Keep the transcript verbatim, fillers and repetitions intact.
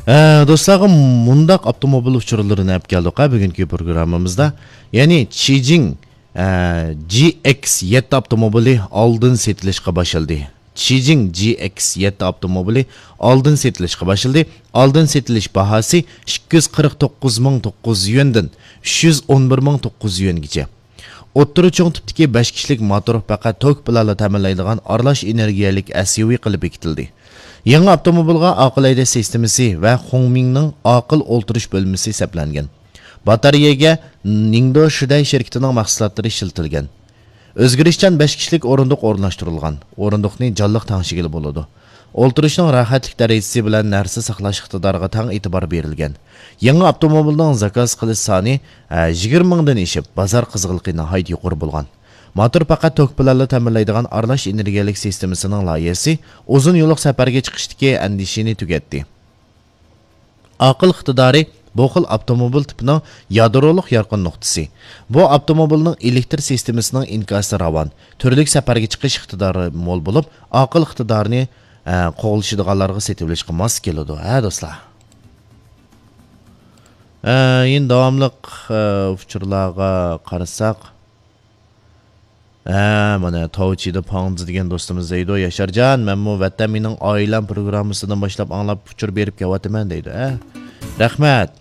ئە، دوستلارغا مۇنداق ئاپتوموبىل ئۇچۇرلىرىنى ئەپ كەلدۇق ھە بۈگۈنكى پروگراممىمىزدا. يەنى چىجىڭ، ئە، جى ئېكس يەتتە ئاپتوموبىلى ئالدىن سېتىلىشقا باشلىدى. چىجىڭ جى ئېكس يەتتە ئاپتوموبىلى ئالدىن سېتىلىشقا باشلىدى. ئالدىن سېتىلىش باھاسى ئىككى يۈز قىرىق توققۇز مىڭ توققۇز يۈز يۈەندىن ئۈچ يۈز ئون بىر مىڭ توققۇز يۈز يۈەنگىچە. ئوتتۇرا چوڭ تىپتىكى بەش كىشىلىك موتور پەقەت توك بىلەنلا تەمىنلەيدىغان ئارىلاش ئېنېرگىيەلىك ئەس يۇ ۋى قىلىپ بېكىتىلدى. يېڭى ئاپتوموبىلغا ئاقىل ھەيدەش سىستېمىسى ۋە خۇڭمىڭنىڭ ئاقىل ئولتۇرۇش بۆلمىسى سەپلەنگەن. باتارېيەگە نىڭدو شىدەي شىركىتىنىڭ مەھسۇلاتلىرى ئىشلىتىلگەن. ئۆزگىرىشچان بەش كىشىلىك ئورۇندۇق ئورۇنلاشتۇرۇلغان. ئورۇندۇقنى جانلىق تەڭشىگىلى بولىدۇ. ئولتۇرۇشنىڭ راھەتلىك دەرىجىسى بىلەن نەرسە ساقلاش ئىقتىدارىغا تەڭ ئېتىبار بېرىلگەن. يېڭى ئاپتوموبىلنىڭ زاكاز قىلىش سانى، ئە، يىگىرمە مىڭدىن ئېشىپ، بازار قىزغىنلىقى ناھايىتى يۇقىرى بولغان. موتور پەقەت توك بىلەنلا تەمىنلەيدىغان ئارىلاش ئېنېرگىيەلىك سىستېمىسىنىڭ لايىھەسى ئۇزۇن يوللۇق سەپەرگە چىقىشتىكى ئەندىشىنى تۈگەتتى. ئاقىل ئىقتىدارى بۇ خىل ئاپتوموبىل تىپىنىڭ يادرولۇق يارقىن نۇقتىسى. بۇ ئاپتوموبىلنىڭ ئېلېكتر سىستېمىسىنىڭ ئىنكاسى راۋان، تۈرلۈك سەپەرگە چىقىش ئىقتىدارى مول بولۇپ، ئاقىل ئىقتىدارىنى، ئە، قوغلىشىدىغانلارغا سېتىۋېلىشقا ماس كېلىدۇ، ھە، دوستلار؟ ئە، يەنە داۋاملىق، ئە، ئۇچۇرلارغا قارىساق، ھە، مانا، تاۋچىدا پاڭزى دېگەن دوستىمىز دەيدۇ، ياشارجان، مەنمۇ ۋەتەن مېنىڭ ئائىلەم پروگراممىسىدىن باشلاپ ئاڭلاپ ئۇچۇر بېرىپ كېلىۋاتىمەن دەيدۇ، ھە. رەھمەت.